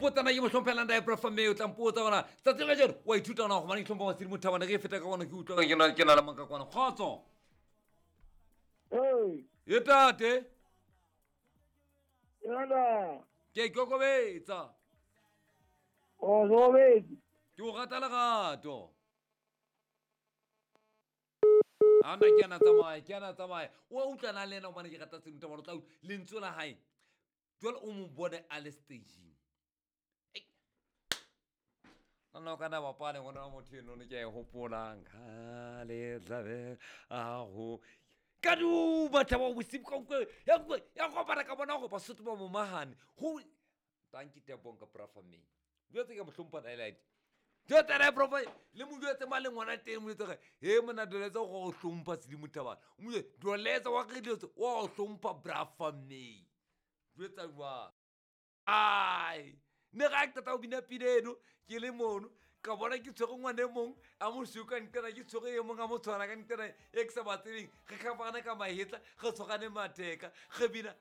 mpotsa na ke mo hlomphela ntae profa mme o tla mpotsa gona tsatsi la kajeno wa ithuta gona gobane ke hlompha masedi mothabane ge e feta ka gona ke utlwa ke na le manka kwana kgotso. Hey, E tate. Yona. Ke ikokobetsa. O robedi. Ke o rata lerato. A nna ke ana tsamaya, ke ana tsamaya. O a utlwana le ena gobane ke rata seno tabane o tla utlwa lentswe la hae. Jwale o mo bone a le stageng. Nna o kana bapale ngwana wa motho eno ke a e hopolang. Kgale tlabe a go ka duma thaba bosibu ka utlwa ya utlwa ya kopana ka bona gore Basotho ba momahane go tanki tebong ka profa me jwetse ke mo hlompha highlight jwetse re profa le mo jwetse ma le ngwana teng mo jwetse ge he mona doletse go go hlompha sedimo thabana o mo jwetse doletse wa ke dilo tse wa go hlompha brafa me jwetsa jwang ai ne ga ke qeta go bina pina eno ke le mono ka bona ke tshwere ngwane e mong a mosweu ka nqena ke tshwere e mong a mo tshwana ka nqena e ke sa ba tsebeng re tlhapagane ka mahetla re tshwarane matheka re bina.